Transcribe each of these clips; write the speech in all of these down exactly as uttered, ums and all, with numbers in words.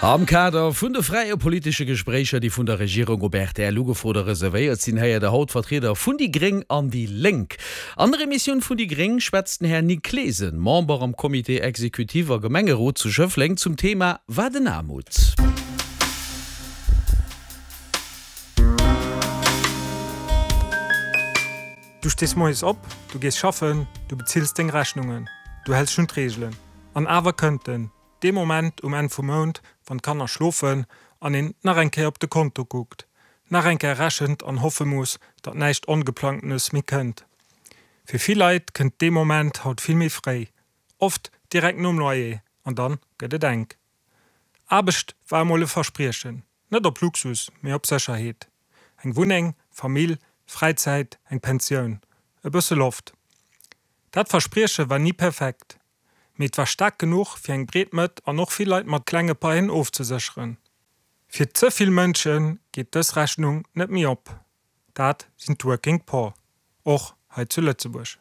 Am Kader vun de fräie politesche Gespréicher, déi vun der Regierung op rtl ugefrot a reservéiert sinn, héiert der haut Vertrieder vun déi Gréng an déi Lénk. An der Emissioun vun déi Gréng schwätzt den Här Nick Clesen, Member am Comité exécutif a Gemengerot zu Schëffleng, zum Thema Wat en Aarmut. Du stees moies op, du gees schaffen, du bezills deng Rechnungen, du häls dech un d'Reegelen. An awer kënnt en, dee Moment um Enn vum Mount, wann d'Kanner schlofen an een nach eng Kéier op de Konto kuckt, nach eng Kéier rechent an hoffe muss, datt näischt Ongeplangtenes méi kënnt. Fir vill Leit kënnt dee Moment haut vill méi fréi, oft direkt nom Loyer, an dann gëtt et enk. Aarbecht war emol e Verspriechen, net op Luxus, mee op Sécherheet. Eng Wunneng, Famill, Fräizäit, eng Pensioun, e bësse Loft. Dat Versprieche war ni perfekt. Mee et war staark genuch, fir eng breet Mëtt an och vill Leit mat klenge Paien ofzesécheren. Fir ze vill Mënsche geet dës Rechnung net méi op. Dat sinn d'Working Poor, och hei zu Lëtzebuerg.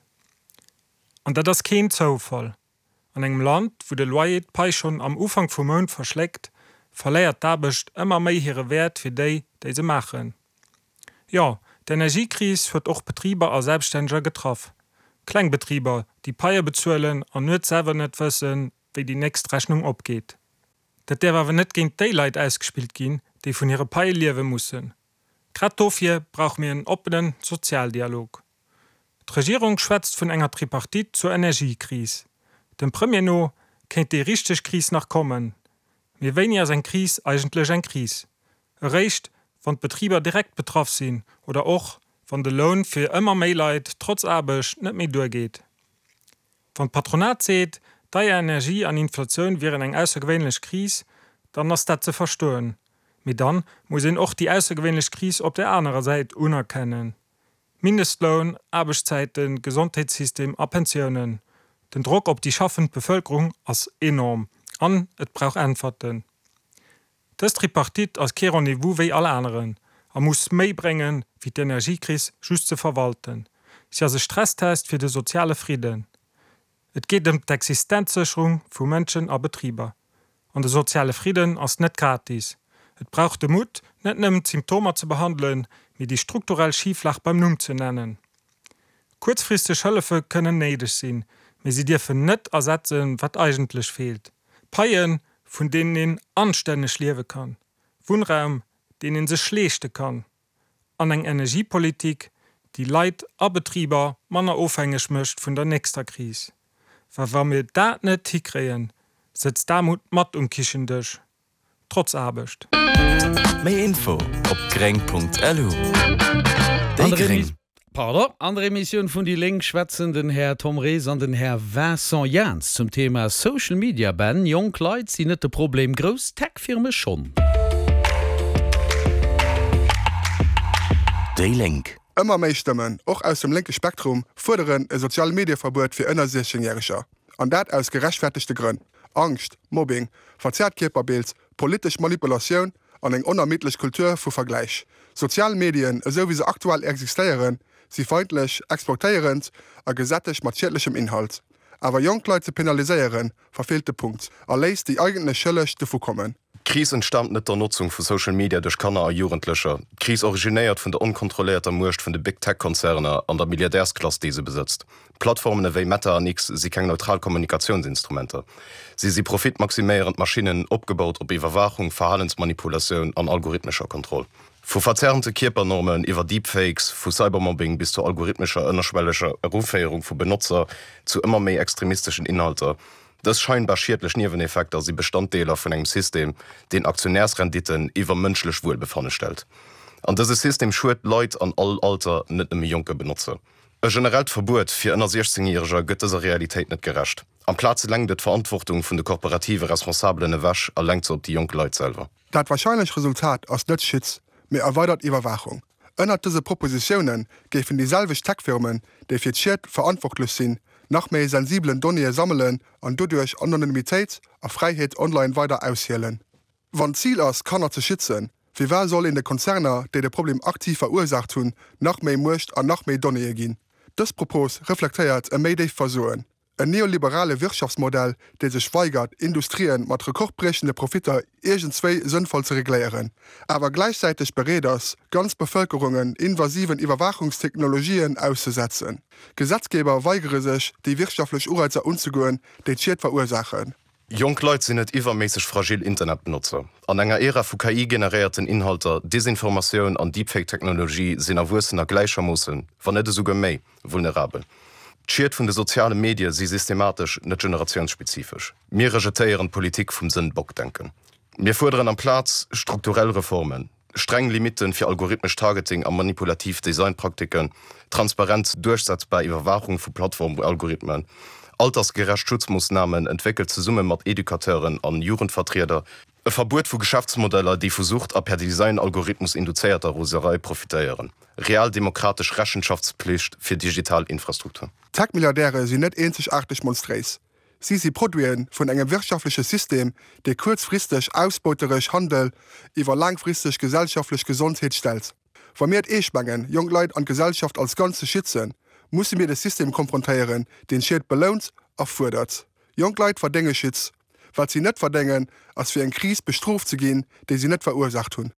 An dat ass keen Zoufall. An engem Land, wou de Loyer d'Pai schonn am Ufank vum Mount verschléckt, verléiert d'Aarbecht ëmmer méi hire Wäert fir déi, déi se maachen. Jo, d'Energiekris huet och Betriber a Selbststänneger getraff. Kleng Betriber, déi Paie bezuelen an nuets selwer net wëssen, wéi déi nächst Rechnung opgeet. Dat däerf awer net géint déi Leit ausgespillt ginn, déi vun hire Paie liewe mussen. Grad dofir brauche mir en oppene Sozialdialog. D'Regierung schwätzt vun enger Tripartite zur Energiekris. Dem Premier no kéint déi richteg Kris nach kommen. Mee wéini ass eng Kris eigentlech eng Kris? Eréischt, wann d'Betriber direkt betraff sinn oder och, wann de Loun fir ëmmer méi Leit trotz Aarbecht net méi duergeet. Wann d'Patronat seet, deier Energie an Inflatioun wieren eng aussergewéinlech Kris, dann ass dat ze verstoen. Mee dann muss een och déi aussergewéinlech Kris op der anerer Säit unerkennen. Mindestloun, Aarbechtszäiten, Gesondheetssystem a Pensiounen, den Drock op déi schaffend Bevëlkerung ass enorm an et brauch Äntwerten. Dës Tripartite ass kee Rendez-vous wéi all aneren a muss méi bréngen, wéi d'Energiekris just ze verwalten. Si ass e Stresstest fir de soziale Fridden. Et geet ëm d'Existenzsécherung vu Mënschen a Betriber. An de soziale Fridden ass net gratis. Et brauch de Mutt, net nëmmen d'Symptomer ze behandelen, mee déi strukturell Schiflag beim Numm ze nennen. Kuerzfristeg Hëllefe kënnen néideg sinn, mee si dierfen net ersetzen, wat eigentlech feelt, Paien, vun deenen een anstänneg liewe kann, Wunnraum, deen ee sech leeschte kann, an eng Energiepolitik, déi Leit a Betriber manner ofhängeg mécht vun der nächster Kris. Well wa mir dat net hikréien, sëtzt d'Aarmut mat um Kichendësch, trotz Aarbecht. Méi Info op gréng.lu. Déi Gréng. Pardon. An der Emissioun vun déi Lénk schwätzen den Här Tom Rees an den Här Vincent Jaans zum Thema Social Media Ban, Jonk Leit sinn net de Problem, grouss Tech-Firme schonn. Déi Lénk. Ëmmer méi Stëmmen, och aus dem lénke Spektrum, fuerderen e Sozial-Medie-Verbuet fir ënner siechzéng Järeger. An dat aus gerechtfertegte Grënn, Angscht, Mobbing, verzerrt Kierperbild, politesch Manipulatioun an eng onermiddlech Kultur vu Vergläich. Sozial Medien, esou wéi se aktuell existéieren, si feindlech, exploitéierend a gesättegt mat schiedlechem Inhalt. Awer jonk Leit ze penaliséieren, verfeelt de Punkt a léisst déi eigentlech Schëlleg dovu kommen. D'Kris entstaamt net der Notzung vu Social Media duerch Kanner a Jugendlecher. D'Kris originéiert vun der onkontrolléierter Muecht vun de Big Tech Konzerner an der Milliardärsklass, déi se besëtzt. Plattformen ewéi Meta an X si keng neutral Kommunikatiounsinstrumenter. Si si profitmaximéierend Maschinnen, opgebaut op Iwwerwaachung, Verhalensmanipulatioun an algorithmescher Kontroll. Vu verzerrte Kierpernormen iwwer Deepfakes, vu Cybermobbing bis zur algorithmescher ënnerschwelleger Eruféierung vu Benotzer zu ëmmer méi extremisteschen Inhalter, dës scheinbar schiedlech Nieweneffekter si Bestanddeeler vun engem System, deen Aktionärsrenditten iwwer mënschlech Wuelbefanne stellt. An dëse System schued Leit an all Alter, net nëmme jonke Benotzer. E generellt Verbuet fir ënner siechzéng Järeger gëtt dëser Realitéit net gerecht. Amplaz lenkt et d'Verantwortung vun de korporative Responsabelen ewech a lenkt se op déi jonk Leit selwer. Dat warscheinlech Resultat ass net Schutz, mee erweidert Iwwerwaachung. Ënnert dëse Propositioune géifen déi selwecht Tech-Firmen, déi fir d'Schied verantwortlech sinn, nach méi sensibelen Donnéeë sammelen an doduerch Anonymitéit a Fräiheet online weider aushielen. Wann d'Zil ass, Kanner ze schützen, firwat soll een de Konzerner, déi de Problem aktiv verursaacht hunn, nach méi Muecht an nach méi Donnéeë ginn? Dës Propos reflektéiert e méi déift Versoen. En neoliberale Wirtschaftsmodell, dee sech weigert, Industrien mat rekordbriechende Profitter iergendswéi sënnvoll ze regléieren, awer gläichzäiteg bereet ass, ganz Bevëlkerungen invasiven Iwwerwaachungstechnologien auszesetzen. Gesetzgeber weigere sech, déi wirtschaftlech Ureizer unzegoen, déi d'Schied verursaachen. Jonk Leit sinn net iwwerméisseg fragil Internetbenotzer. An enger Ära vu K I-generéierten Inhalter, Desinformatioun an Deepfake-Technologie sinn Erwuessener gläichermoossen, wann net esouguer méi, vulnerabel. D'Schied vun de soziale Medie si systematesch, net generatiounsspezifesch. Mir rejetéieren d'Politik vum Sënnbock-Denken. Mir fuerderen amplaz strukturell Reformen, streng Limitten fir algorithmescht Targeting a manipulativ Designpraktiken, transparent duerchsetzbar Iwwerwaachung vu Plattformalgorithmen, altersgerecht Schutzmoossnamen, entwéckelt zesumme mat Educateuren an Jugendvertrieder, e Verbuet vu Geschäftsmodeller, déi vu Sucht a per Design-Algorithmus induzéierter Roserei profitéieren, real demokratesch Rechenschaftspflicht fir digital Infrastruktur. Tech-Milliardäre sinn net eenzegaarteg monstréis. Si si Produite vun engem wirtschaftleche System, dee kuerzfristeg ausbeuteresch Handel iwwer laangfristeg gesellschaftlech Gesondheet stellt. Wa mir et eescht mengen, jonk Leit an d'Gesellschaft als Ganzt ze schützen, musse mir de System konfrontéieren, deen Schied belount a fuerdert. Jonk Leit verdénge Schutz. Wat si net verdéngen, ass fir eng Kris bestrooft ze ginn, déi si net verursaacht hunn.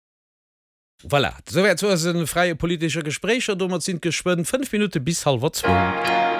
Voilà, souwäit zu eise fräie politesche Gespréicher. Domat sinn et geschwënn fënnf Minutte bis hallwer zwou.